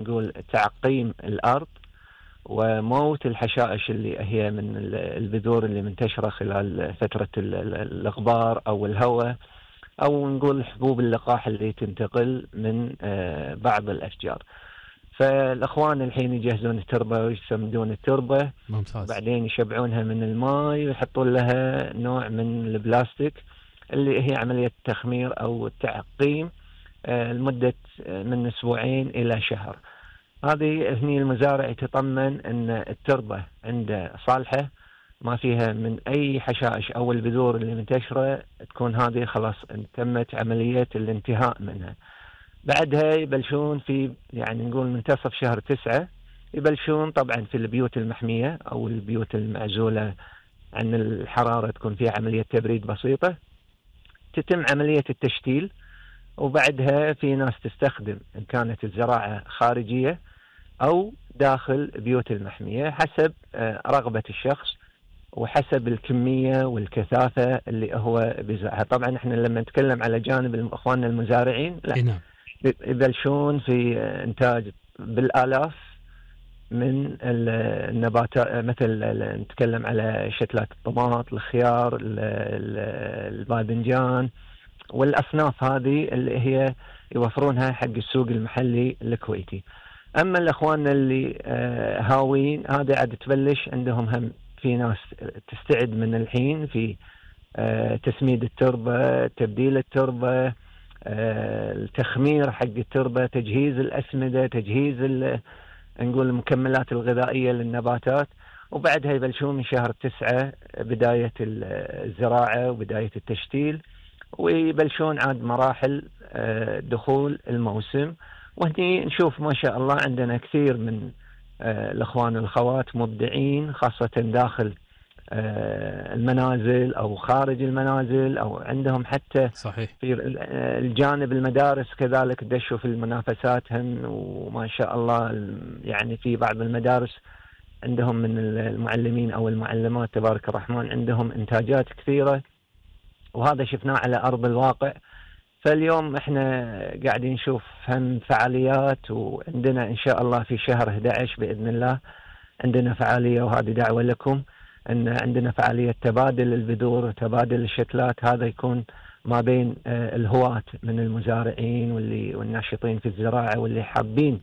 نقول تعقيم الأرض وموت الحشائش اللي هي من البذور اللي منتشرة خلال فترة الغبار أو الهواء، أو نقول حبوب اللقاح اللي تنتقل من بعض الأشجار. فالأخوان الحين يجهزون التربة ويسمدون التربة، ممتاز. بعدين يشبعونها من الماء ويحطون لها نوع من البلاستيك اللي هي عملية تخمير أو تعقيم لمدة من أسبوعين إلى شهر. هذه هني المزارع يتطمن أن التربة عنده صالحة، ما فيها من أي حشائش أو البذور اللي منتشرة، تكون هذه خلاص تمت عملية الانتهاء منها. بعدها يبلشون في يعني نقول منتصف شهر 9 يبلشون طبعا في البيوت المحمية أو البيوت المعزولة عن الحرارة، تكون فيها عملية تبريد بسيطة، تتم عملية التشتيل. وبعدها في ناس تستخدم إن كانت الزراعة خارجية أو داخل بيوت المحمية حسب رغبة الشخص وحسب الكمية والكثافة اللي هو بيزرعها. طبعا احنا لما نتكلم على جانب اخواننا المزارعين، لا نعم. يبلشون في إنتاج بالآلاف من النباتات، مثل نتكلم على شتلات الطماط، الخيار، الباذنجان، والأصناف هذه اللي هي يوفرونها حق السوق المحلي الكويتي. أما الأخوان اللي هاوين، هذا عاد تبلش عندهم هم في ناس تستعد من الحين في تسميد التربة، تبديل التربة، التخمير حق التربة، تجهيز الأسمدة، تجهيز نقول المكملات الغذائية للنباتات. وبعدها يبلشون من شهر 9 بداية الزراعة وبداية التشتيل، ويبلشون عاد مراحل دخول الموسم. وهني نشوف ما شاء الله عندنا كثير من الأخوان والأخوات مبدعين، خاصة داخل المنازل أو خارج المنازل، أو عندهم حتى صحيح. في الجانب المدارس كذلك دشوا في المنافسات هم. وما شاء الله يعني في بعض المدارس عندهم من المعلمين أو المعلمات تبارك الرحمن عندهم إنتاجات كثيرة، وهذا شفناه على أرض الواقع. فاليوم احنا قاعدين نشوف هم فعاليات، وعندنا إن شاء الله في شهر 11 بإذن الله عندنا فعالية، وهذه دعوة لكم أن عندنا فعالية تبادل البذور وتبادل الشتلات. هذا يكون ما بين الهواة من المزارعين والناشطين في الزراعة واللي حابين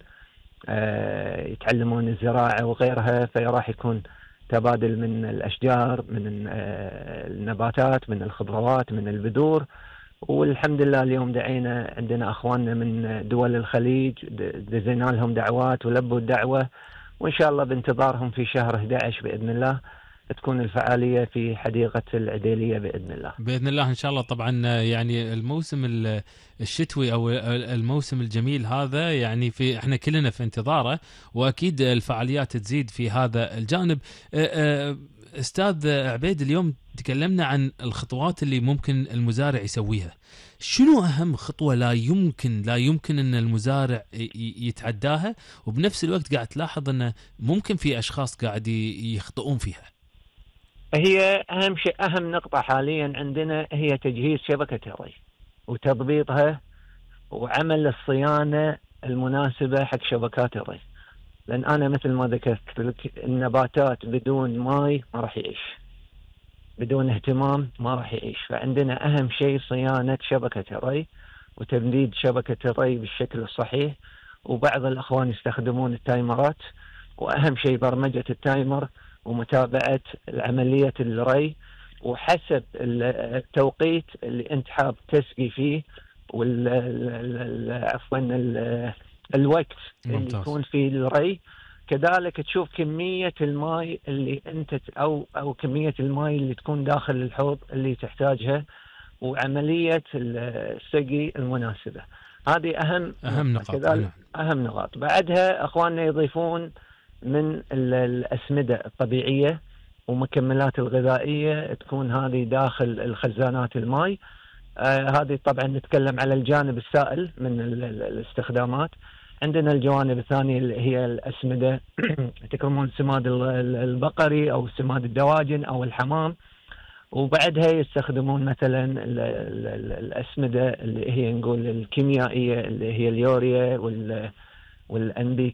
يتعلمون الزراعة وغيرها، فراح يكون تبادل من الأشجار، من النباتات، من الخضروات، من البذور. والحمد لله اليوم دعينا عندنا أخواننا من دول الخليج، دزينا لهم دعوات ولبوا الدعوة، وإن شاء الله بانتظارهم في شهر 11 بإذن الله تكون الفعالية في حديقة العديلية بإذن الله. بإذن الله إن شاء الله. طبعا يعني الموسم الشتوي أو الموسم الجميل هذا يعني احنا كلنا في انتظاره، وأكيد الفعاليات تزيد في هذا الجانب. أستاذ عبيد، اليوم تكلمنا عن الخطوات اللي ممكن المزارع يسويها. شنو أهم خطوة لا يمكن أن المزارع يتعداها، وبنفس الوقت قاعد تلاحظ أنه ممكن في أشخاص قاعد يخطئون فيها؟ هي أهم شيء، أهم نقطة حاليا عندنا هي تجهيز شبكة الري وتضبيطها وعمل الصيانة المناسبة حق شبكات الري. لأن أنا مثل ما ذكرت لك، النباتات بدون ماء ما راح يعيش، بدون اهتمام ما راح يعيش. فعندنا أهم شيء صيانة شبكة الري وتمديد شبكة الري بالشكل الصحيح. وبعض الأخوان يستخدمون التايمرات، وأهم شيء برمجة التايمر ومتابعة عملية الري وحسب التوقيت اللي أنت حاب تسقي فيه، عفوا الوقت اللي يكون فيه الري. كذلك تشوف كمية الماء اللي أنت أو كمية الماء اللي تكون داخل الحوض اللي تحتاجها، وعملية السقي المناسبة. هذه أهم نقاط. كذلك أهم نقاط. بعدها أخواننا يضيفون من الأسمدة الطبيعية ومكملات الغذائية، تكون هذه داخل الخزانات الماء. هذه طبعا نتكلم على الجانب السائل من الاستخدامات. عندنا الجوانب الثانية اللي هي الأسمدة تكون سماد البقري أو سماد الدواجن أو الحمام. وبعدها يستخدمون مثلا الأسمدة اللي هي نقول الكيميائية اللي هي اليوريا والNPK